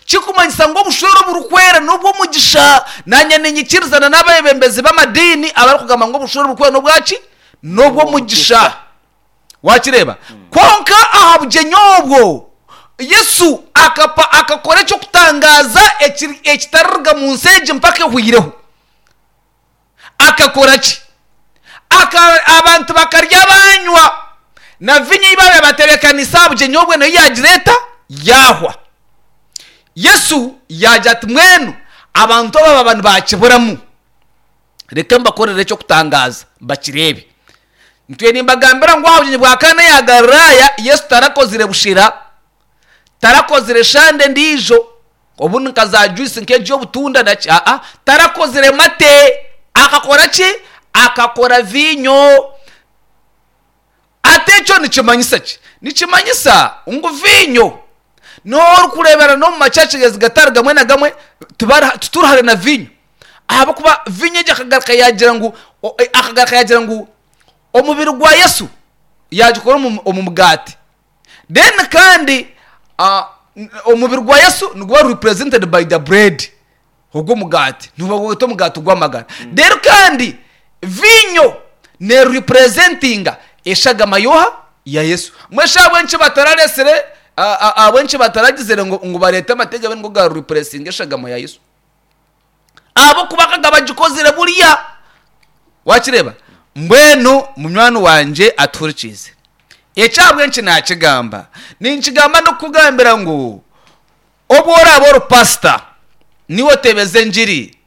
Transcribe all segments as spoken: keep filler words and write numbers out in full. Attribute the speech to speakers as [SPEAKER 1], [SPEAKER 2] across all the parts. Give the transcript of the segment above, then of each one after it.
[SPEAKER 1] Kikumanyisa ngu obushwere oburikwera n'obw'omugisha. Naanye ninyikirizana n'abeebembezi b'amadiini abarikugamba ngu obushwere oburikwera n'obwaki? N'obw'omugisha. Waakireeba? Kwonka aha bugyenyi obwo, Yesu akapa akakora eky'okutangaaza ekiri ekitariruga mu nsi egi mpaka ehweireho. Akakora ki? Aka abantu bakarya baanywa, na viinyo ei baabaire batebeekaniise aha bugyenyi obwo nayo yaagira eta? Yaahwa. Yesu yaagira ati, Mbwenu abantu aba baaba nibakiburamu, reka mbakorere eky'okutangaaza bakireebe. Ntwire nimbagambira ngu aha bugyenyi bwa Kaana eya Galilaaya, Yesu tarakozire bushera, tarakozire shande endiijo, obundi nka za juice nk'egi y'obutunda naki, aa, tarakozire mate, akakora ki? Akakora viinyo. Ati ekyo nikimanyisa ki? Nikimanyisa ngu viinyo n'orikureebera n'omu machurches gatari gamwe na gamwe tibari tituri hare na viinyo ahabw'okuba viinyo egyo akagaruka yaagira ngu akagaruka yaagira ngu omubiri gwa Yesu yaagikora omu omu mugaati. Then kandi omubiri gwa Yesu niguba represented by the bread. Ogwo omugaati nibagweta omugaati gw'amagara. Reero kandi viinyo neeripurezentinga eshagama y'oha? Ya Yesu. Mbwenu shi ahabw'enki batarareetsire, ahabw'enki bataragizire ngu ngu bareete amate gabe nigo gaaripuresinga eshagama ya Yesu? Ahabw'okuba akaba bagikozire buriya. Waakireeba? Mbwenu munywani wangye atuhurikiize. Eki ahabw'enki naakigamba? Ninkigamba ndikukugambira ngu Obu oraabe ori pasita, niiwe otebeza engiri,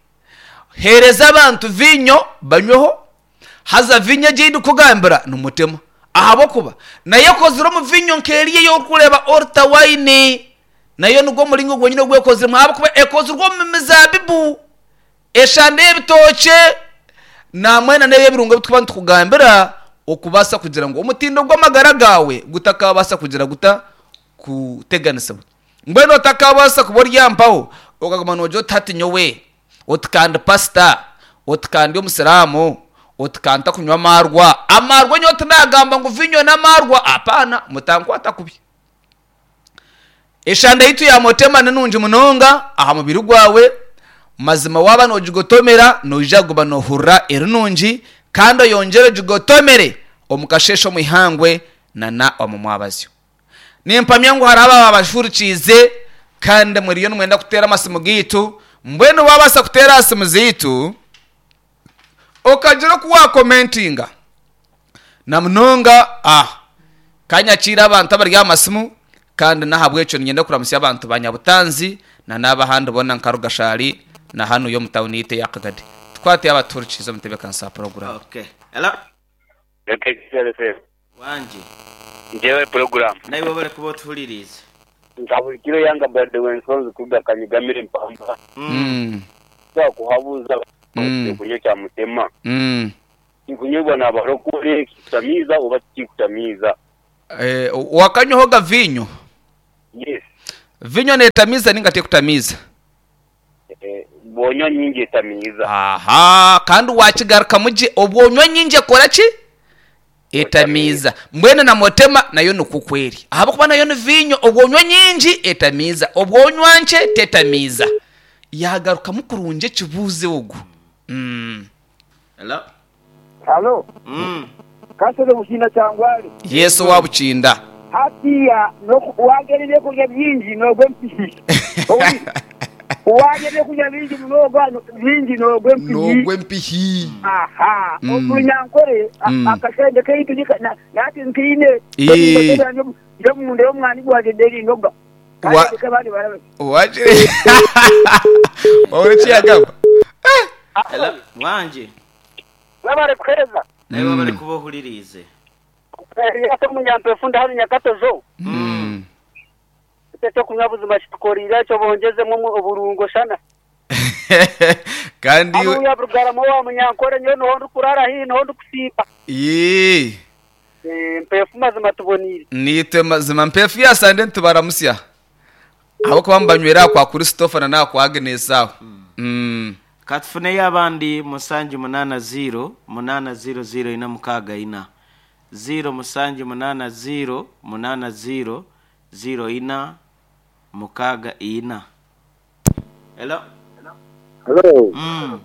[SPEAKER 1] heereza abantu viinyo banyweho, haza viinyo egi ei ndikukugambira ni Mutima. Ahabw'okuba nayo ekozire omu viinyo nk'eriya ei orikureeba Orta Wine, nayo nigwo muringo gwenyini ogu ekoziremu ahabw'okuba ekozirwe omu mizaabibu, eshande y'ebitookye, namwena n'ebi ebirungo ebi turikuba nitukugambira okubaasa kugira ngu omutindo gw'amagara gaawe gutakaabaasa kugira guta? Kuteganisibwa. Mbwenu otakabaasa kuba ori aha mpaho okaguma noogira oti hati nyowe, oti ka ndi pasita, oti ka ndi omusiraamu, oti ka ntakunywa amaarwa. Amaarwa nyowe tinaagamba ngu viinyo n'amaarwa, apaana, mutankwata kubi. Eshanda yaitu ya Motema ni nungi munonga aha mubiri gwawe. Mazima waaba noogigotomera noija kuguma noohurira eri nungi kandi oyongyere ogigotomere omu kasheeshe omu ihangwe nana omu mwabazyo. Nimpamya ngu hariho abaaba bashurikiize kandi muriyo nimwenda kuteera amasimu gaitu. Mbwenu waabaasa kuteera aha simu zaitu okagira oku waakomentinga na munonga ah ka nyakiire abantu abari aha masimu kandi n'ahabw'ekyo niinyenda kuramutsya abantu ba Nyabutanzi na n'ab'ahandi boona nka Rugashari na hanuya omu tauni yaitu eya Kagadi. Tukwate abatuhurikiize omu ntebeekanisa ya puroguraamu.
[SPEAKER 2] Okay. Hello. Wangi.
[SPEAKER 3] Njyewe puroguramu.
[SPEAKER 2] Naiwe webale kuba otuhuririize.
[SPEAKER 3] Nka buri kiro yanga Brother Wensonzi kuruga Kanyigamire Mpamba.
[SPEAKER 1] Mm.
[SPEAKER 3] Twakuhabuza
[SPEAKER 1] Mm.
[SPEAKER 3] ekyokunywa kya Mutema
[SPEAKER 1] Mm.
[SPEAKER 3] kikunyweibwa n'abarokore kikutamiiza oba tikikutamiiza?
[SPEAKER 1] Eh, wakanywaho ga viinyo?
[SPEAKER 3] Yes.
[SPEAKER 1] Viinyo neetamiiza ninga tekutamiiza?
[SPEAKER 3] Eh, bw'onywa nyingi etamiiza.
[SPEAKER 1] Aha, kandi waakigarukamu gye, obw'onywa nyingi ekora ki? Etamiiza. Mbwenu na motema nayo nikwo oku eri. Ahabw'okuba nayo ni viinyo, obw'onywa nyingi etamiiza, obw'onywa nkye tetamiiza. Yaagarukamu kurungi ekibuuzo ogu. Mm.
[SPEAKER 2] Hello.
[SPEAKER 4] Halo,
[SPEAKER 2] Mm.
[SPEAKER 4] Kasese Bukinda Kyangwali.
[SPEAKER 1] Yesu owa Bukinda.
[SPEAKER 4] Hatiya noku warya ebyokurya bingi nogwa empihi. Owulire? Warya ebyokurya bingi munonga bingi nogwa empihi.
[SPEAKER 1] Nogwa empihi.
[SPEAKER 4] Aha.
[SPEAKER 1] Mm.
[SPEAKER 4] Omu Runyankore a-
[SPEAKER 1] Mm.
[SPEAKER 4] akashente kaitu nika- na- nahati nkaine
[SPEAKER 1] Ee.
[SPEAKER 4] ndi omunda y'omwani gwangye nderinoga.
[SPEAKER 1] Wa-
[SPEAKER 4] Kandi ndeke abandi barabe.
[SPEAKER 1] Wakire. Wahurira eki yagamba? Eh!
[SPEAKER 2] Hello. Wangi.
[SPEAKER 3] Webare kuheereza.
[SPEAKER 2] Naiwe webale kuba ohuririize.
[SPEAKER 3] Erias Omunyampefu ndi hanu Nyakatojo.
[SPEAKER 1] Mm.
[SPEAKER 3] Itwe ekyokunywa buzima kitukoreire ekyo bongyezemu oburungo shana.
[SPEAKER 1] Kandi iwe
[SPEAKER 3] Hanuya Bugarama owa Munyankore nyowe niho ndikuraara haihi niho ndikusiiba.
[SPEAKER 1] Yee.
[SPEAKER 3] Eh, Mpefu mazima tuboniire.
[SPEAKER 1] Naitwe mazima Mpefu ya Sande nitubaramutsya ahabw'okuba mubanywera aha kwa Christopher na n'aha kwa Agnes aho. Mm.
[SPEAKER 2] Ka tufuneyo abandi musanju munaana ziiro munaana ziiro ziiro ina mukaaga ina. Ziiro musanju munaana ziiro munaana ziiro ziiro ina Mukaaga ina. Hello.
[SPEAKER 4] Hello.
[SPEAKER 2] Mm.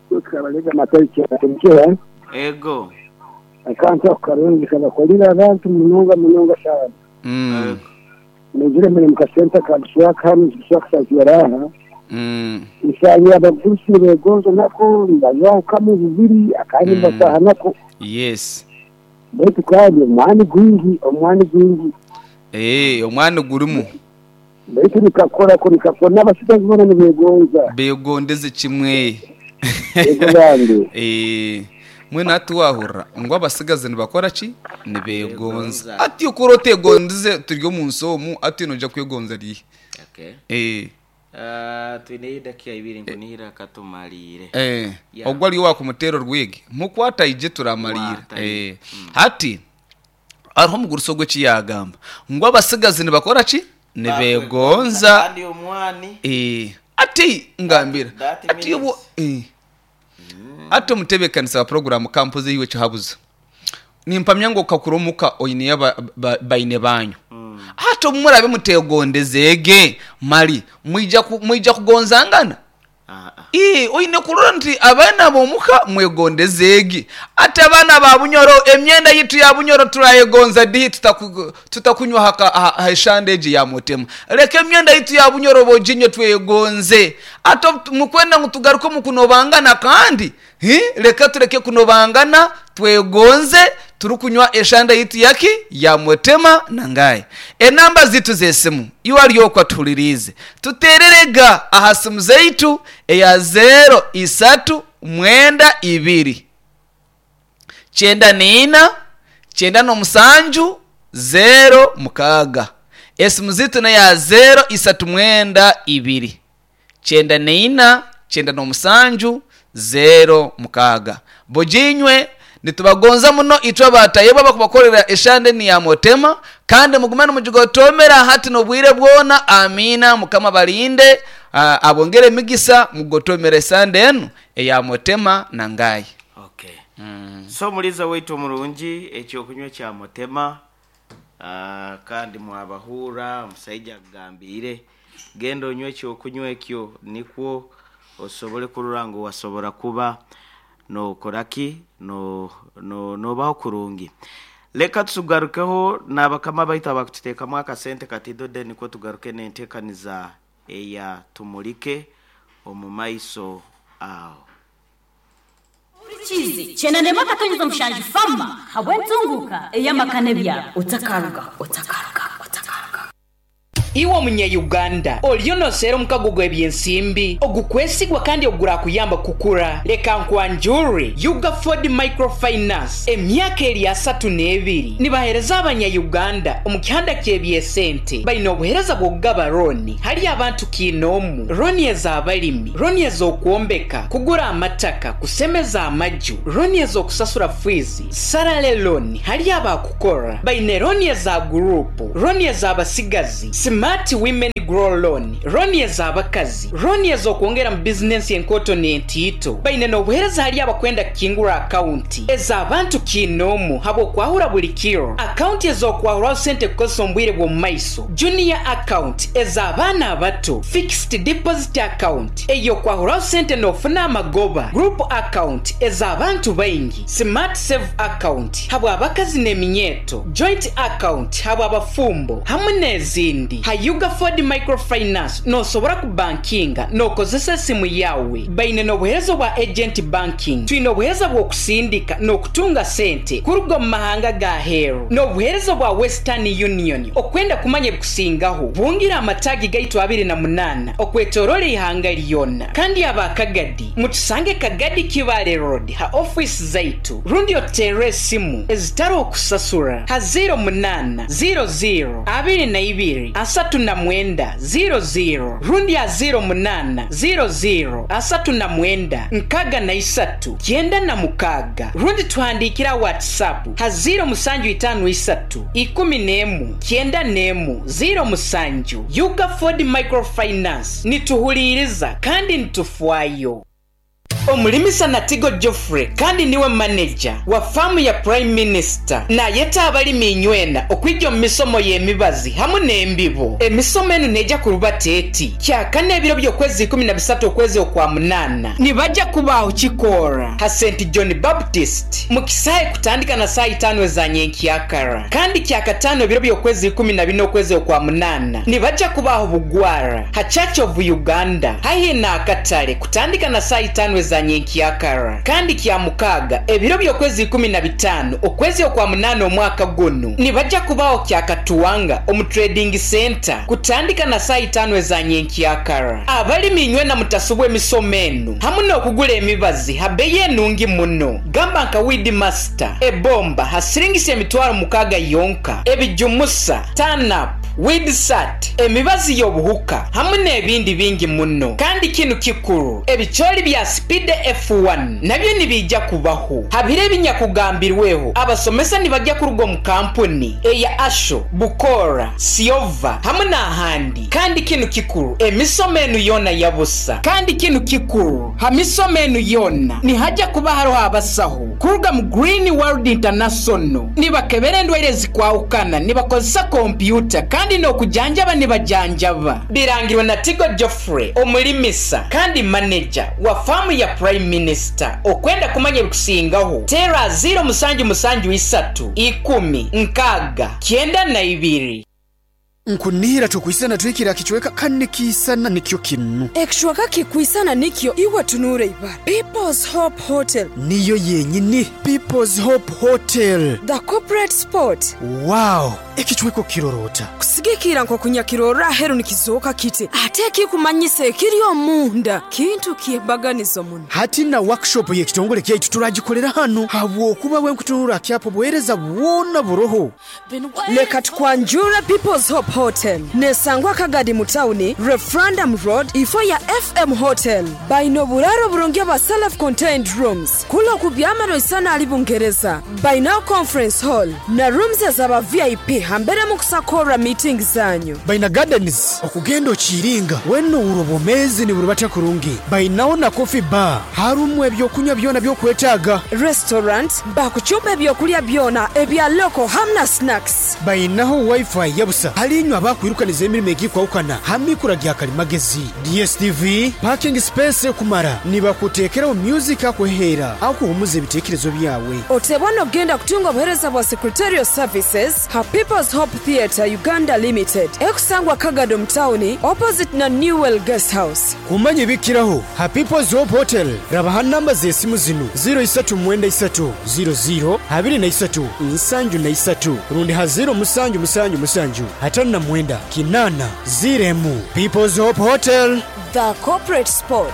[SPEAKER 4] Tukabaleza matariki ya
[SPEAKER 2] Ego.
[SPEAKER 4] Akantu karungi kabakolera abantu munonga munonga sana.
[SPEAKER 1] Mm.
[SPEAKER 4] Nigire muri mukasenta ka Buswaka hano Buswaka saziraha.
[SPEAKER 1] Mm.
[SPEAKER 4] Isanye abagurusi begonzo nako ndazaho bubiri akandi
[SPEAKER 1] Mm.
[SPEAKER 4] basaha nako.
[SPEAKER 1] Yes.
[SPEAKER 4] Baitu kandi omwani gwingi omwani gwingi.
[SPEAKER 1] Eh, omwani gurimu.
[SPEAKER 4] Baitu nikakora ko nikakora n'abasigazi bona nibegonza.
[SPEAKER 1] Begondeze kimwe.
[SPEAKER 4] Ego bande.
[SPEAKER 1] Eh, mwe atuwahurra ngo abasigazi nibakora ki nibegonza ati ukuro tegondeze turi omu nsi omu ati noja kwegonza rihe.
[SPEAKER 2] Okay.
[SPEAKER 1] Eh.
[SPEAKER 2] Uh, twine idakika ibiri nkunihira katumalire.
[SPEAKER 1] Eh,
[SPEAKER 2] Yeah.
[SPEAKER 1] ogwo ari wakumutera orwege mukwata ije turamalira.
[SPEAKER 2] Wataije.
[SPEAKER 1] Eh, hati ariho omugurusi ogwo ekiyagamba ngo abasigazi nibakora ki nibegonza.
[SPEAKER 2] Kandi omwani
[SPEAKER 1] Eh, ati ngambira
[SPEAKER 2] That
[SPEAKER 1] ati
[SPEAKER 2] means-
[SPEAKER 1] ubu eh. Ati omutebeekanisa wa poroguramu kampuze yiwe kihabuzo nimpamya ngo kakuromuka oine ba, ba, baine banyu mm. Ati omurabe mutegondezege mali mwija ku, mwija kugonzangana.
[SPEAKER 2] Ah, ah.
[SPEAKER 1] Ii, oine kurora nti abaana b'omuka mwegondezege ati abaana ba Bunyoro emyenda yitu ya Bunyoro turayegonza dihi tutaku, tutakunywa haka ha, ha eshandeji ya mutema leka emyenda yitu ya Bunyoro bojinyo twegonze ati mukwenda ngu tugaruke mu kunobangana kandi hi leka tureke kunobangana twegonze turukunywa eshanda yitu yaki ya mutema nangaye. Enamba zitu zesimu iwari tulirize tutererega aha simu zeitu eya zero isatu mwenda ibiri kyenda niina kyenda n'omusanju zero mukaaga. Esimu zitu neya zero isatu mwenda ibiri kyenda niina kyenda n'omusanju zero mukaaga. Bojinywe nitubagonza muno itwe abatayebwa bakubakorera eshande ni ya motema kandi mugumane mugigotomera hati nobwire bwona. Amina. Mukama balinde uh, abongere emigisa mugotomera esande enu eya motema nangaye.
[SPEAKER 2] Okay. Mm. So muliza waitu omurungi ekyokunywa kya motema uh, kandi mwabahura omusaija agambire genda onywe ekyokunywa ekyo nikwo osobole kurora ngu wasobora kuba nokoraki no no nobaho kurungi. Leka tugarukeho n'abakama baitu abakututeekamu akasente katidode nikwo tugaruke n'enteekaniza eya tumulike omu maiso aho.
[SPEAKER 5] Chizi chenanema katonyeza mushanji fama habwentunguka eyamakane bya
[SPEAKER 6] otakaruga otakaruga otakaruga.
[SPEAKER 7] Iwe omunya-Uganda oriyo noseera omukago gw'ebyensimbi ogukwesigwa kandi ogurakuyamba kukura leka nkwanjure Ugaford Microfinance emyaka eri asatu n'ebiri nibahereza abanya-Uganda omu kihanda ky'ebyesente baine obuhereza bw'okugaba roni hari abantu kiinoomu roni ez'abalimi roni ez'okwombeka kugura amataka kusemeza amaju roni ez'okusasura fiizi sarale loni hari abakukora baine roni eza gurupu roni ez'abasigazi Smart Women Grow Loan, roni ez'abakazi, roni ez'okwongera mu bizinensi enkoto n'entiito. Baine n'obuheereza hali abakwenda kukingura akaunti ez'abantu kiinoomu habw'okwahura buli kiro, akaunti ez'okwahuraho sente kukozesa omu bwire bw'omu maiso, junior account ez'abaana abato, fixed deposit account ey'okwahuraho sente n'ofuna amagoba, group account ez'abantu baingi, smart save account habw'abakazi n'eminyeeto, joint account habw'abafumbo hamwe n'ezindi. Ha Ugaford Microfinance nosobora kubankinga nokozesa esimu yawe. Baine n'obuheereza bwa agent banking, twine obuheereza bw'okusindika n'okutunga sente kuruga mu mahanga ga heeru, n'obuheereza bwa Western Union. Okwenda kumanya ebikusingaho bungira amatagi gaitu abiri na munaana okwetoroora ihanga lyona. Kandi abakagadi mutusange Kagadi Kibale Road ha office zaitu rundi oteere esimu ezitari okusasura ha zero munaana zero zero abiri na ibiri asatu na mwenda zero zero rundi ya zero munana zero zero asatu na mwenda nkaga na isatu kyenda na mukaga rundi tuhandikira WhatsApp ha zero musanju itanu isatu ikumi n'emu kyenda n'emu zero musanju. Ugaford Microfinance nituhuliriza kandi nitufwayo. Omulimisa Natigo Geoffrey kandi niwe manager wa faamu ya Prime Minister nayeta abalimi inywena okwija omu misomo y'emibazi hamu n'embibo. Emisomo enu neija kurubata eti kyakana ebiro by'okwezi ikumi na bisatu okwezi okwa munaana nibajja kubaaho kikoora ha Saint John Baptist mu kisaahe kutandika na saa itaano eza nyenkyakara, kandi kyakataano ebiro by'okwezi ikumi na bina okwezi okwa munaana nibajja kubaaho bugwara ha Church of Uganda haihi n'akatale kutandika na saa itaano eza nyenkyakara, kandi kya mukaaga ebiro by'okwezi ikumi na bitaano okwezi okwa munaana omwaka gunu nibajja kubaaho kyakatuwanga omu trading center kutandika na saa itaano eza nyenkyakara. Abalimi inywena mutasubwa emisomo enu hamu n'okugula emibazi ha bei enungi muno, gamba nka weed master ebomba ha siringisa emitwaro mukaaga yonka, ebijumusa tanap weedsat emibazi y'obuhuka hamu n'ebindi bingi muno. Kandi kinu kikuru, ebicoori bya speed F one nabyo nibijja kubaho habire ebinyakugambirweho. Abasomesa nibajja kuruga omu kampuni eya Asho, Bukora, Siova hamu n'ahandi. Kandi kinu kikuru, emisomo enu yona yabusa. Kandi kinu kikuru, ha misomo enu yona nihajja kuba hariho abasaho kuruga mu Green World International, nibakebera endwaire ezikwahukana, nibakozesa kompyuta kandi n'okujanjaba nibajanjaba. Birangirwe na Tigo Geoffrey, omulimisa kandi manager wa faamu ya Prime Minister. Okwenda kumanya ebikusingaho tera ziro musanju musanju isatu ikumi nkaaga kyenda na ibiri.
[SPEAKER 8] Nkunihira tukwisana twikira kichweka kanikisana nikyo kinu
[SPEAKER 6] ekishweka kikwisana nikyo iwe tunure ibara People's Hope Hotel
[SPEAKER 8] niyo yenyini. People's Hope Hotel,
[SPEAKER 6] the corporate spot.
[SPEAKER 8] Wow, ekichweko kirorota
[SPEAKER 6] kusigikira nko kunyakirora heru nikizoka kite ate kikumanyise ekiri omunda kintu kyebaganizo muno.
[SPEAKER 8] Hati na workshop y'ekitongole kyaitu turagikolera hano habwokuba we nkutunura kyapo buhereza bwona buroho.
[SPEAKER 6] Leka tukwanjura People's Hope Hotel nesangwa Kagadi mutawuni Referendum Road ifo ya F M Hotel. Baino buraro burungi bwa self-contained rooms kulo kubyamano isana ali Bungereza. Baino conference hall na rooms ezaba V I P hambere mukusakora meeting zanyu.
[SPEAKER 8] Baina gardens okugenda okiringa weno urobomezi ni burubata kurungi. Bainaho na coffee bar harumu ebyokunywa byona byokwetaaga.
[SPEAKER 6] Restaurant bakuchumba ebyokulya byona ebya loko hamna snacks.
[SPEAKER 8] Bainaho wifi yabusa halinywa abakwirukaniza emirimo egikwawukana hamikura gya kalimagezi D S T V parking space kumara nibakutekeraho music akuhera akuhumuza ebitekerezo byawe.
[SPEAKER 6] Otebona ogenda kutunga obuhereza bwa secretarial services ha People's Hope Theatre Uganda Limited ekusangwa Kagado mtawuni opposite na Newell Guest House.
[SPEAKER 8] Kumanya ebikiraho ha People's Hope Hotel rabaha namba z'esimu zinu ziro isatu mwenda isatu ziro ziro abiri na isatu nsanju na isatu rundi ha ziro musanju musanju musanju hatano na mwenda kinana ziremu. People's Hope Hotel,
[SPEAKER 6] the corporate spot.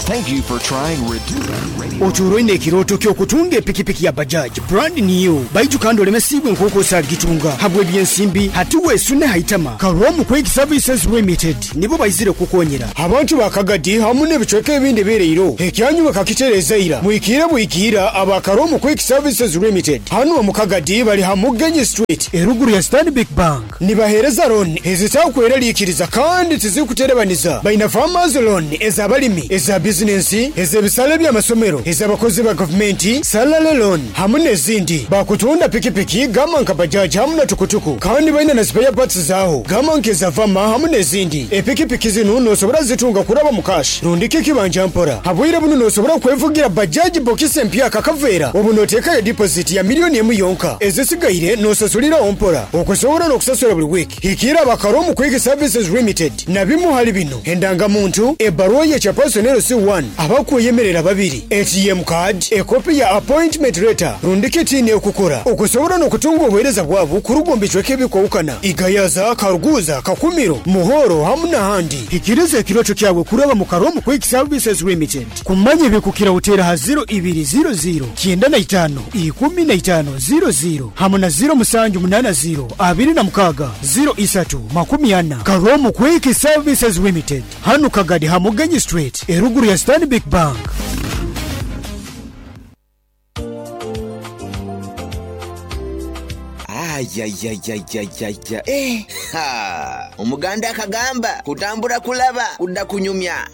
[SPEAKER 9] Thank you for trying Redu.
[SPEAKER 8] Oturoine ekiroto ky'okutunga epikipiki ya Bajaj brand new baiju kandi olemesibwe nk'oku osagitunga habwe ebyensimbi hati weesune haitama. Karomu Quick Services Limited nibo baizire kukonyera abantu bakagadi hamu n'ebicweka ebindi bireiro ekyanyu bakakitereza ira mwikire bwikira aba Karomu Quick Services Limited hano mu Kagadi bali ha Mugenyi Street eruguru ya Stanbic Bank. Nibahereza loan ezitakweralikiriza kandi tizikuterebaniza. Baina farmers loan ez'abalimi eza business ez'ebisale by'amasomero ez'abakozi ba gavumenti salary loan hamu n'ezindi. Bakutunda pikipiki gama nka bajaji hamu na tukutuku kandi baina na spare parts zaho gama nkeza vama hamu n'ezindi. Epikipiki zinu nosobora zitunga kuraba mu cash rundike kibanja mpora habwire bunu nosobora kwevugira bajaji bokisi empya kakavera obu notekayo deposit ya miliyoni emu yonka ezisigaire nosasulira ompora okusobora n'okusasula buli wiki. Hikira abakaromu Quick Services Limited na bimu hali bino endangamuntu ebbaluwa y'ekya personnel C one abakweyemerera babiri A T M card ekopi ya appointment letter rundike tini okukora okusobora n'okutunga obuhereza bwabo kurugomba icweke ebikwawukana Igayaza, Karuguza, Kakumiro, Muhoro hamu n'ahandi. Hikiriza ekiroto kyawe kuraba mu Karomu Quick Services Limited. Kumanya ebikukira utera ha ziro ibiri ziro ziro kyenda na itaano ikumi na itaano ziro ziro hamu na ziro musanju munana ziro abiri na mukaga ziro isatu makumi ana. Karomu Quick Services Limited hanu Kagadi ha Mugenyi Street eruguru ya Stanbic Bank.
[SPEAKER 10] Ayayayayayaya. Eh, ha. Omuganda akagamba kutambura kulaba kudda kunyumya.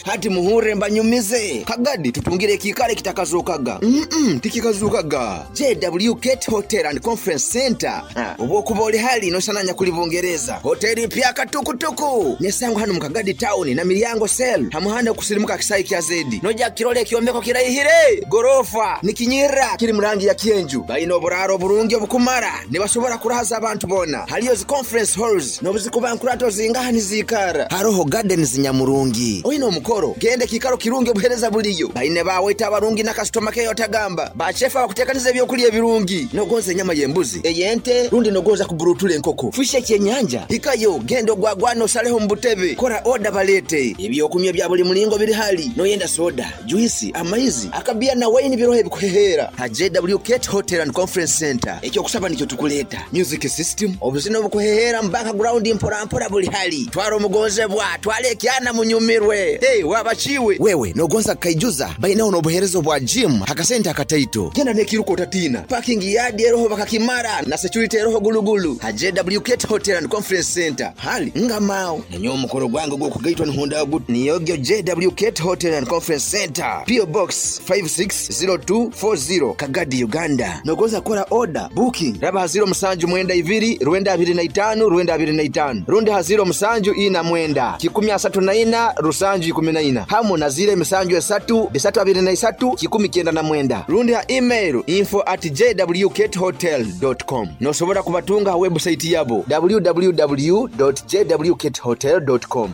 [SPEAKER 10] Hati muhure mbanyumize kagadi tutungire kikale kitakazukaga. Mm -mm, tikikazukaga. J W Gate Hotel and Conference Center. Obwokuba oli hali nosananya kuli Bungereza. Hoteli mpya katukutuku. Nesango hano mukagadi town na milyango sel. Hamuhanda kusilimuka kisai kya zedi. Noja kirole kyombeko kirayihire. Gorofa nikinyira kiri murangi ya kienju. Baino oburaro burungi obukumara. Nibasobora kurahaza abantu bona. Haliyo zi conference halls nobuzikuba nkurato zingaha nizikara. Haroho gardens nyamurungi. Oino omukoro gende kikaro kirungi obuhereza buliyo. Baine bawe tabarungi na customer care otagamba. Bachefa bakutekaniza ebyokulya ebirungi. Nogonza enyama y'embuzi, ey'ente, rundi nogonza kuburutula enkoko. Fishe kyenyanja. Hikayo gendo gwagwano saleho mbutebe. Kora order balete. Ebyokunywa bya buli mulingo biri hali. Noyenda soda, juice, amaizi, akabia na wine birohe bikuhehera. Ha J W Gate Hotel and Conference Center. Ekyo kusaba nikyo tukuleta. Music system, obuzina obukuhehera mbaka ground mpora mpora buli hali. Twaro mugonzebwa, twale kyana munyumirwe. Hey, wabachiwe. Wewe nogonza kaijuza baina onobuherezo bwa gym hakasenta akataito. Genda nekiruko utatina. Parking yard eroho bakakimara na security eroho gulugulu. Ha J W Gate Hotel and Conference Center. Hali ngamao. Nanyo omukoro gwange gwokugaitwa nihunda gut. Niyogyo J W Gate Hotel and Conference Center. P O Box five six zero two four zero Kagadi, Uganda. Nogonza kora order booking. Raba haziro musanju mwenda iviri, rwenda abiri na itanu, rwenda abiri na itanu. Rundi haziro musanju ina mwenda. Kikumi asatu na ina, rusanju ikumi na ina. Hamu na zile misanju esatu, bisatu abiri na isatu, kikumi kenda na mwenda. Rundi ha email info at j w gate hotel dot com. Nosobora kubatunga ha website yabo w w w dot j w gate hotel dot com.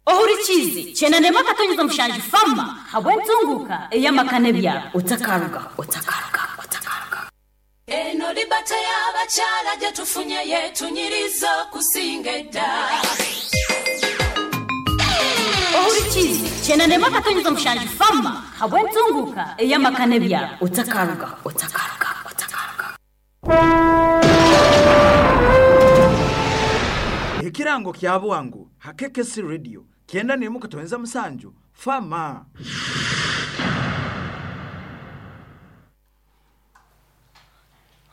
[SPEAKER 5] Ohurichizi chenande makatonyeza mushanji fama habwentunguka eyamakane bya otakaruga otakaruga otakaruga
[SPEAKER 11] eno libata y'abakyala gye tufunye yetunyiriza kusinga edda.
[SPEAKER 5] Ohurichizi chenande makatonyeza mushanji fama habwentunguka eyamakane bya otakaruga otakaruga otakaruga.
[SPEAKER 12] Ekirango kya bwangu hakekesi radio kienda nimuka towenza musanju fama.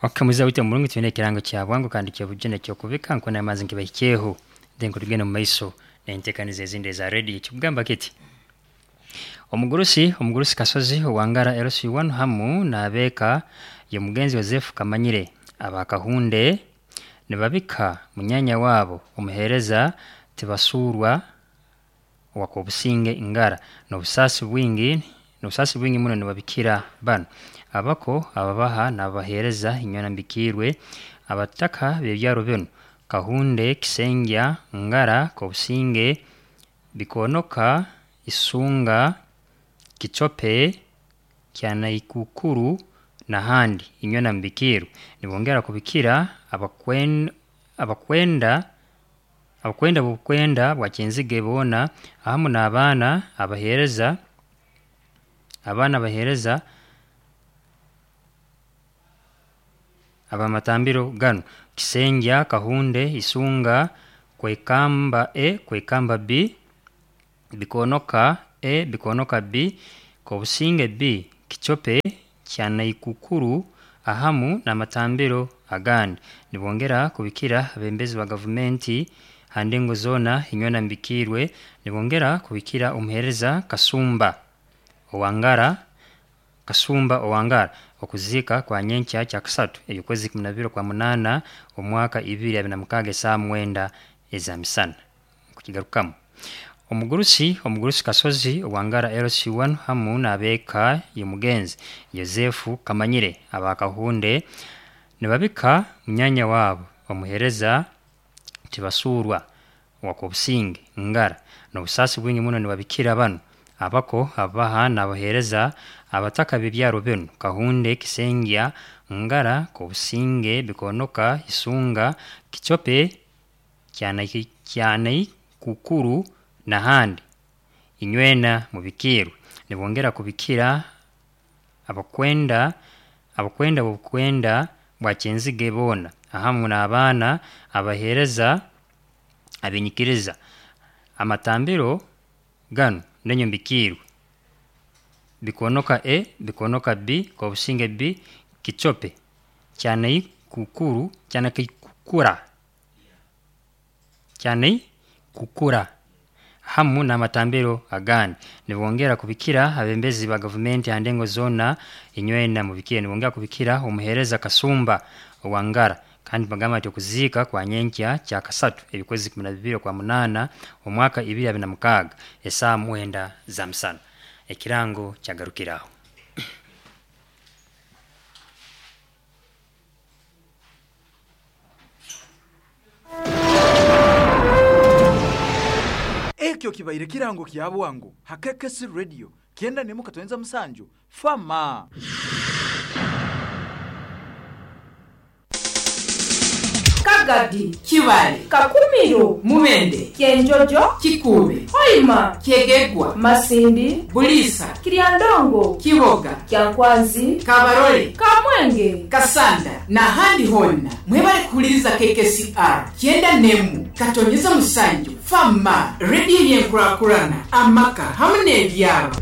[SPEAKER 13] Okamuza wite mulungu twine ekirango kya bwangu kandi kya bujene kyo kubika nkona amazi nkibahikeho dengo tugenda mu maiso nentekaniza ezindi za radio kigamba kiti Omugurusi omugurusi Kasozi owangara L C one hamu nabeka ye mugenzi Joseph Kamanyire abakahunde nibabika munyanya wabo omuhereza tibasurwa wakobusinge ingara nobusasi bwingi nobusasi bwingi muno nibabikira bano abako ababaha nabahereza inyona mbikirwe abataka bebyaro bino Kahunde Kisengya Ngara Kobusinge Bikonoka Isunga Kichope Kyanaikukuru na handi inyona mbikirwe nibongera kubikira abakwen abakwenda abakwenda bukwenda bwa bona ahamu n'abaana abahereza abaana bahereza abamatambiro gano Kisengya Kahunde Isunga Kwekamba E Kwekamba B Bikonoka E Bikonoka B Kobusinge B Kichope Kyanaikukuru ahamu n'amatambiro agandi nibongera kubikira abembezi ba gavumenti handengo zona inyona mbikirwe nibongera kubikira umuhereza Kasumba Owangara Kasumba Owangara okuzika kwa nyenkya kya kusatu eby'okwezi kumi na bibiri kwa munana omwaka ibiri abiri na mukaaga esaa mwenda eza misana kukigarukamu Omugurusi omugurusi Kasozi Owangara L C one hamu n'abeeka y'omugenzi Yosefu Kamanyire abakahunde nibabika munyanya wabo omuhereza tibasurwa wakobusinge Ngara n'obusasi bwingi muno nibabikira bano abako abaha n'abahereza abataka bebyaro bino Kahunde Kisengya Ngara Kobusinge Bikonoka Isunga Kichope Kyanaikukuru na handi inywena mubikirwe nibongera kubikira abakwenda abakwenda bukwenda bwa Kyenzige bona ahamu n'abaana abahereza abinyikiriza amatambiro gano nenyo mbikirwe. Bikonoka A, Bikonoka B, Kobusinge B, Kichope, Kyanei Kukuru, Kyanei Kukura, Kyanei Kukura hamu n'amatambiro agandi. Nibongera kubikira abembezi ba gavumenti ha ndengo zona inywena mubikire. Nibongera kubikira omuhereza Kasumba Owangara, kandi bagamba nti okuziika kwa nyenkya kya kasatu ebikwezi kumi na bibiri kwa munana omwaka ibiri abiri na mukaaga esaaha mwenda za musana. Ekirango kyagarukiraho.
[SPEAKER 12] Ekyo kibaire kirango kya bwangu ha K K C Radio kyenda nemu katwenza musanju fama.
[SPEAKER 14] Kagadi,
[SPEAKER 7] Kibale,
[SPEAKER 14] Kakumiro,
[SPEAKER 7] Mubende,
[SPEAKER 14] Kyenjojo,
[SPEAKER 7] Kikuube,
[SPEAKER 14] Hoima,
[SPEAKER 7] Kyegegwa,
[SPEAKER 14] Masindi,
[SPEAKER 7] Bulisa,
[SPEAKER 14] Kiryandongo,
[SPEAKER 7] Kiboga,
[SPEAKER 14] Kyankwanzi,
[SPEAKER 7] Kabarole,
[SPEAKER 14] Kamwenge,
[SPEAKER 7] Kasanda n'ahandi honna mwebale kuhuliriza K K C R kyenda nemu katonyeza musanju fama rediyo yenkurakurana amaka hamwe n'ebyaro.